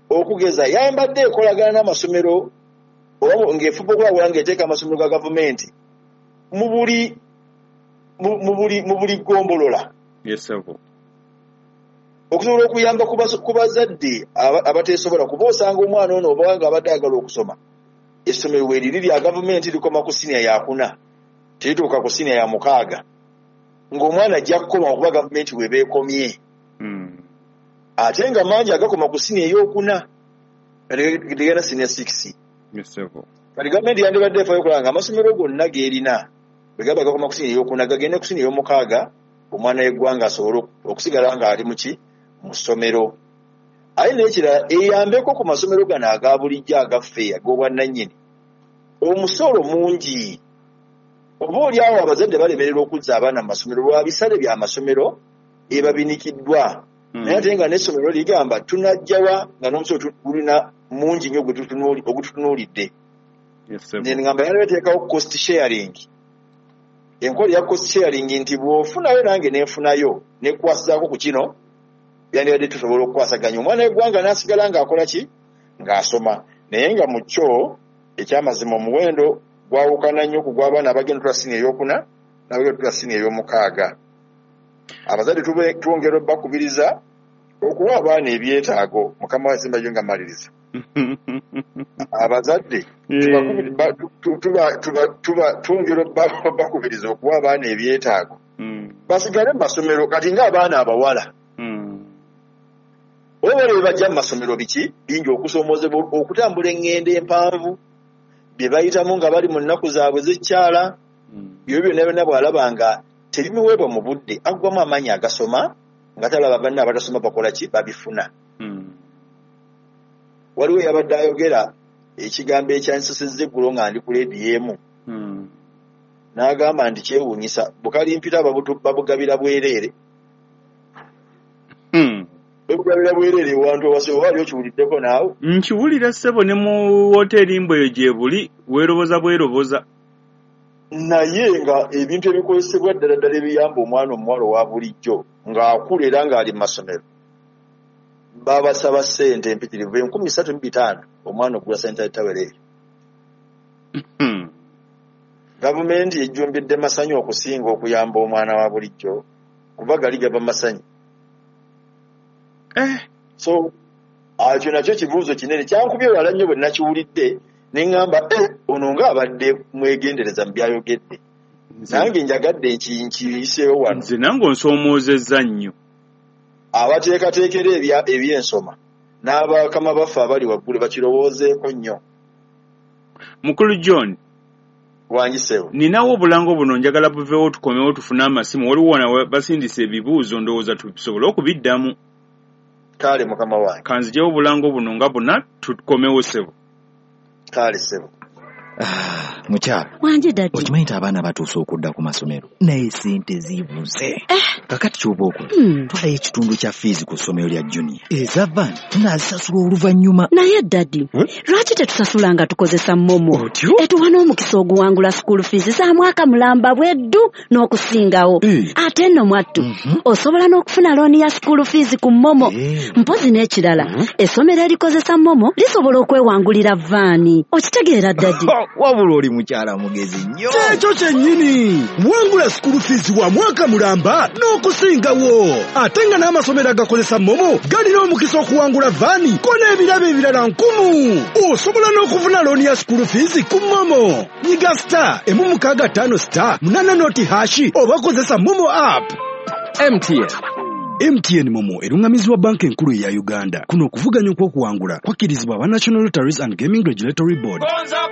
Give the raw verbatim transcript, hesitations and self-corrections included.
Okugeza, yambadde ekolagana n'amasomero oba ng'efuba okulabula ng'eteeka amasomero ga gavumenti mu buli mu buli mu buli ggombolola. Yes, ssebo. Okusobola okuyamba ku bazadde abateesobola, kuba osanga omwana ono oba nga abadde ayagala okusoma, essomero weeriri lya gavumenti likoma ku siniya yakuna, terituuka ku siniya ya mukaaga, ng'omwana ajja kukoma okuba gavumenti we beekomye. Mm. Ate nga mangi agakoma ku siniya ey'okuna, tegenda siniya six. Yes, ssebo. Kati gavumenti yandibadde efaayo okulaba nga amasomero gonna g'erina bwe gaba gakoma ku siniya ey'okuna, gagende ku siniya ey'omukaaga, omwana w'eggwanga asobole okusigala ng'ali mu ki? Mu ssomero. Ate n'ekirala, eyambeko ku masomero gano aga bulijjo agaffe ag'obwannannyini. Omusolo mungi. Oba oli awo abazadde balemererwa okuzza abaana mu masomero lwa bisale by'amasomero ebabinikiddwa. Mm. Naye ate nga n'essomero ligamba tunajjawa nga n'omusolo gulina mungi nnyo ogututunuulidde. Yes, ssebo. Ne ngamba yaleeteekawo cost sharing. Enkola ya cost sharing nti bw'ofunayo nange nenfunayo nekwasizaako ku kino, byandibadde tusobola okukwasaganya omwana w'eggwanga n'asigala ng'akola ki? Ng'asoma. Naye nga mu kyo ekyamazima omuwendo gwawukana nnyo ku gw'abaana abagenda otula siniya ey'okuna n'abagenda otula siniya ey'omukaaga. Abazadde twongera obbakubiriza okuwa abaana ebyetaago. Mukama wange nga mmaliriza. Abazadde twongera obbakubiriza okuwa abaana ebyetaago basigale mu masomero. Kati ng'abaana abawala oba bali bajja mu masomero biki bingi, okusoomoozebwa, okutambula eŋŋendo empanvu bye bayitamu nga bali mu nnaku zaabwe z'ekyala, byo byonna byonna bw'alaba nga tebimuweebwa mu budde, aggwamu amaanyi agasoma nga talaba banne abatasoma bakola ki? Babifuna. Waliwo eyabadde ayogera ekigambo ekyansesezza eggulo nga ndi ku leediyo emu, n'agamba nti kyewuunyisa bukalimpita babugabira bwereere. Babugabira bwereere ewantu ewase, oba ali okiwuliddeko naawe? Nkiwulira ssebo, ne mu woteeri mbwe eyo gye buli, weeroboza bweroboza. Naye nga ebintu ebikozesebwa ddala ddala ebiyamba omwana omuwala owa bulijjo ng'akula era ng'ali mu masomero, babasaba ssente empitirivu enkumi ssatu mu bitaano omwana okugula sanitary towel eyo. Gavumenti ejjumbidde masanyu okusinga okuyamba omwana wa bulijjo, kuba gali gava masanyu. Eh. So ekyo nakyo kibuuzo kinene kyankubye wala nnyo bwe nakiwulidde ne ŋŋamba eh, ono ng'abadde mwegendereza mu byayogedde, nange njagadde nkiyiseewo wano. Nze nange onsoomoozezza nnyo. Abateekateekera ebyensoma n'abakama baffe abali waggulu bakirowoozeeko nnyo. Mukulu John wangiseewo, ninawo obulango buno njagala buveewo tukomewo tufune amasimu. Waliwo wano basindise ebibuuzo, ndowooza tusobole okubiddamu. Kale mukama wange, kanzijewo obulango buno nga buna tukomewo ssebo. Kale ssebo. Ah, mukyala wanje daddy, okimanyi nti abaana batuuse okudda ku masomero naye sente zibuze. Eh. Kakati ky'oba okola, Hmm. twalayo ekitundu kya fiizi ku ssomero lya junior, eza van tunaazisasula oluvannyuma. Naye daddy, Hmm? lwaki tetusasula nga tukozesa MoMo? Otyo? Etuwa n'omukisa oguwangula school fees za mwaka mulamba bweddu n'okusingawo. Eh. Ate nno mwattu, Mhm. osobola n'okufuna looni ya school fees ku MoMo. Eh. Mpozi n'ekirala, Mhm. essomero erikozesa MoMo lisobola okwewangulira vaani. Okitegeera daddy? Wabula oli mukyala mugezi nnyo. Kyekyo kyennyini, wangula school fees wa mwaka mulamba n'okusingawo. Ate nga n'amasomero agakozesa MoMo galina omukisa okuwangula vaani ko n'ebirabo ebirala nkumu. Osobola n'okufuna looni ya school fees ku MoMo. Nyiga star emu mukaaga ttaano star munaana nought hash oba kozesa MoMo app. M T N. M T N MoMo eruŋŋamizibwa Banka Enkulu eya Uganda. Kuno okuvuganya okw'okuwangula kwakkirizibwa aba National Lotteries and Gaming Regulatory Board.